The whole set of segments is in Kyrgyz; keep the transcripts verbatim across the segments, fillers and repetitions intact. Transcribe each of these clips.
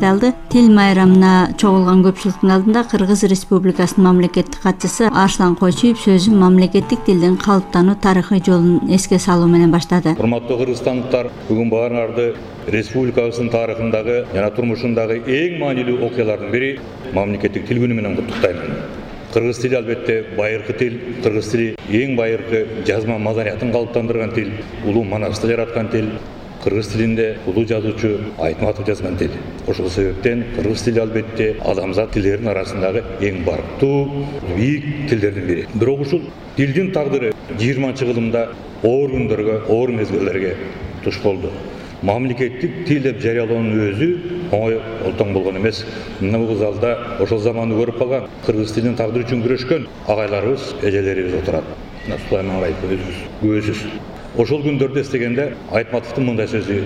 алды. Тил майрамына чогулган көпчүлүктүн алдында Кыргыз Республикасынын мамлекеттик катчысы Арслан Койчиев сөзүн мамлекеттик тилдин калыптануу тарыхый жолун эске салуу менен баштады. Урматтуу кыргызстандыктар, бүгүн баарыңарды республикабыздын тарыхындагы жана турмушундагы эң маанилүү окуялардын бири мамлекеттик тил күнү менен куттуктаймын. Кыргыз тили албетте байыркы тил, кыргыз тили эң байыркы жазма маданиятын калыптандырган тил, улуу манасты жараткан тил. Кыргыз тилинде улуу жазуучу Айтматов жазган тил. Ошол себептен кыргыз тили албетте адамзат тилдеринин арасындагы эң барктуу, бийик тилдердин бири. Бирок ушул тилдин тагдыры жыйырманчы кылымда оор күндөргө, оор мезгилдерге туш болду. Мамлекеттик тил деп жарыялоонун өзү оңой олтоң болгон эмес. Мына бул залда ошол заманды көрүп калган, кыргыз тилинин тагдыры үчүн күрөшкөн агайларыбыз, эжелерибиз отурат. Сулайман Абаев өзүбүз, көзүбүз. Ошол күндөрдү эстегенде Айтматовдун мындай сөзү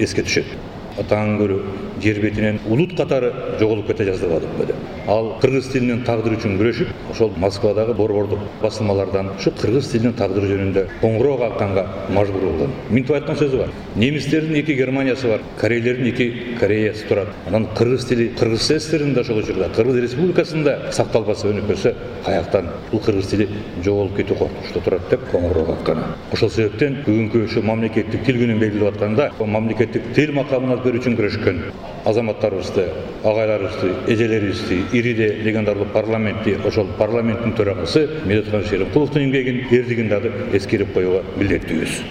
эске түшөт. Атаң көрү жер бетинен улут катары жоголуп кете жаздырбадык деди. Ал кыргыз тилинин тагдыры үчүн күрөшүп, ошол Москвадагы борбордук басылмалардан ушу кыргыз тилинин тагдыры жөнүндө коңгуроо калканга мажбур болгон. Минтип айткан сөзү бар. Немистердин эки Германиясы бар, корейлердин эки Кореясы турат. Анан кыргыз тили кыргыз СССРинде ошол учурда, Кыргыз Республикасында сакталбаса өнөкөсө, каяктан бул кыргыз тили жоголуп кетүү коркунучта турат деп коңгуроо калкан. Ошол себептен бүгүнкү ушу мамлекеттик тил күнүн белгилеп атканда, мамлекеттик тил макамын берүү үчүн күрөшкөн азаматтарыбызды, агайларыбызды, эжелерибизди, ириде легендарлуу парламентти, ошол парламенттин төрагасы Медетхан Шеримкуловдун эмгегин, эрдигин дагы эскерип коюуга милдеттүүбүз.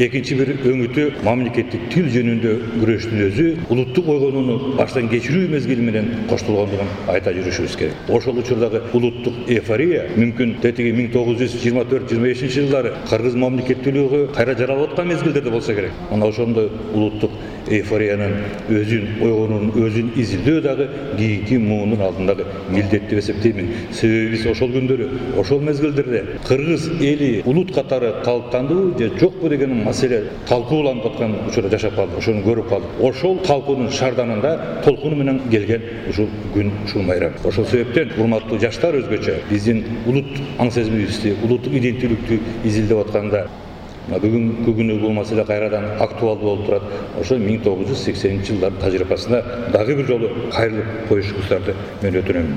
Экинчи бир өңүтү мамлекеттик тил жөнүндө күрөштүн өзү улуттук ойгонууну баштан кечирүү мезгили менен коштолгондугун айта жүрүшүбүз керек. Ошол учурдагы улуттук эйфория мүмкүн тетиги миң тогуз жүз жыйырма төрт жыйырма бешинчи жылдары кыргыз мамлекеттүүлүгү кайра жаралып аткан мезгилдерде болсо керек. Мына ошондой улуттук эйфориянын өзүн ойгонуунун өзүн изилдөө дагы кийинки муунун алдындагы милдет деп эсептеймин. Себеби биз ошол күндөрү, ошол мезгилдерде кыргыз эли улут катары калыптандыбы же жокпу деген маселе талкууланып аткан учурда жашап калдык, ошону көрүп калдык. Ошол талкуунун шарданында толкуну менен келген ушул күн, ушул майрам. Ошол себептен урматтуу жаштар өзгөчө биздин улут аң сезимибизди, улуттук иденттүүлүктү изилдеп атканда бүгүнкү күнү бул маселе кайрадан актуалдуу болуп турат. Ошо миң тогуз жүз сексенинчи жылдардын тажрыйбасына дагы бир жолу кайрылып коюшуңуздарды мен өтүнөм.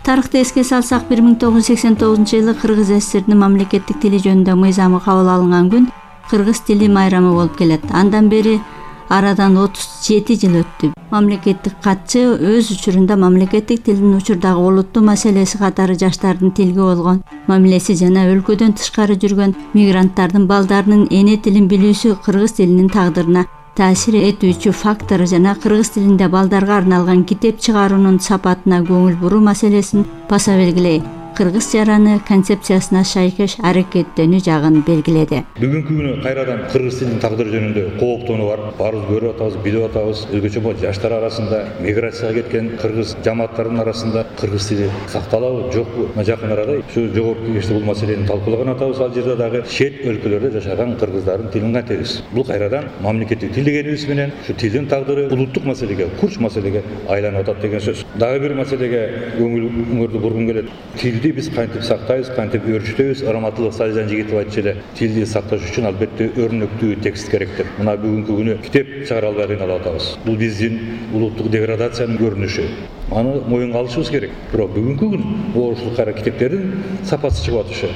Тарыхты эске салсак, бир миң тогуз жүз сексен тогузунчу жылы Кыргыз СССРдин мамлекеттик тили жөнүндө мыйзамы кабыл алынган күн Кыргыз тили майрамы болуп келет. Андан бери арадан отуз жети жыл өттү. Мамлекеттик катчы өз учурунда мамлекеттик тилдин учурдагы олуттуу маселеси катары жаштардын тилге болгон мамилеси жана өлкөдөн тышкары жүргөн мигранттардын балдарынын эне тилин билүүсү кыргыз тилинин тагдырына таасир этүүчү фактор жана кыргыз тилинде балдарга арналган китеп чыгаруунун сапатына көңүл буруу маселесин баса белгилей, кыргыз жараны концепциясына шайкеш аракеттенүү жагын белгиледи. Бүгүнкү күнү кайрадан кыргыз тилинин тагдыры жөнүндө кооптонуу бар. Баарыбыз көрүп атабыз, билип атабыз. Өзгөчө бул жаштар арасында, миграцияга кеткен кыргыз жамааттарынын арасында кыргыз тили сакталабы, жокпу? Жакын арада ушу жогорку кеңеште бул маселени талкуулаган атабыз. Ал жерде дагы чет өлкөлөрдө жашаган кыргыздардын тилин кантебиз? Бул кайрадан мамлекеттик тил дегенибиз менен ушу тилдин тагдыры улуттук маселеге, курч маселеге айланып атат деген сөз. Дагы бир маселеге көңүлүңөрдү бургум келет. Тилди биз кантип сактайбыз, кантип өөрчүтөбүз? Раматылык Салижан Жигитов айтчу эле, тилди сакташ үчүн албетте өрнөктүү текст керек деп. Мына бүгүнкү күнү китеп чыгара албай кыйналып атабыз. Бул биздин улуттук деградациянын көрүнүшү. Аны моюнга алышыбыз керек. Бирок бүгүнкү күн ошол кайра китептердин сапасы чыгып атышы,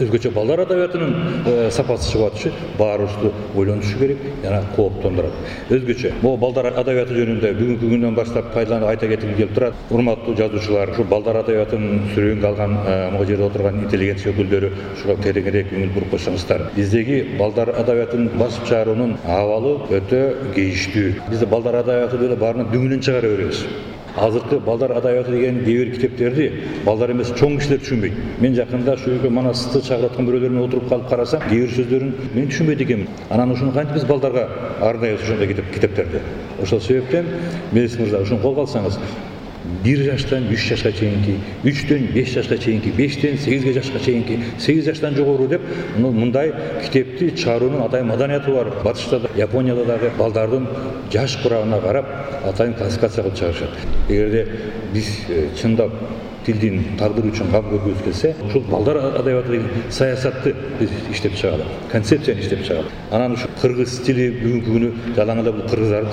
өзгөчө балдар адабиятынын сапасы чыгып атышы баарыбызды ойлонушу керек жана кооптондурат. Өзгөчө могу балдар адабияты жөнүндө бүгүнкү күндөн баштап пайдаланып айта кетким келип турат. Урматтуу жазуучулар, ушу балдар адабиятынын сүрөөнгө алган могу жерде отурган интеллигенция өкүлдөрү ушуга тереңирээк көңүл буруп койсоңуздар. Биздеги балдар адабиятын басып чыгаруунун абалы өтө кейиштүү. Бизде балдар адабияты деле баарынан дүңүнөн чыгара беребиз. Азыркы балдар адабияты деген кээ бир китептерди балдар эмес чоң кишилер түшүнбөйт. Мен жакында ушул Манасты чагырткан бирөөлөр менен отуруп калып карасам, кээ бир сөздөрүн мен түшүнбөйт экенмин. Анан ушуну кантип биз балдарга арнайбыз ошондой китептерди? Ошол себептен Мелис мырза ушуну колго алсаңыз, бир жаштан үч жашка чейинки, үчтөн беш жашка чейинки, бештен сегизге жашка чейинки, сегиз жаштан жогору деп мындай китепти чыгаруунун атайын маданияты бар. Батышта да, Японияда дагы балдардын жаш курагына карап атайын классификация кылып чыгарышат. Эгерде биз чындап тилдин тагдыры үчүн кам көргүбүз келсе, ушул балдар адабияты деген саясатты биз иштеп чыгалы, концепцияны иштеп чыгалы. Анан ушу кыргыз тили бүгүнкү күнү жалаң эле бул кыргыздардын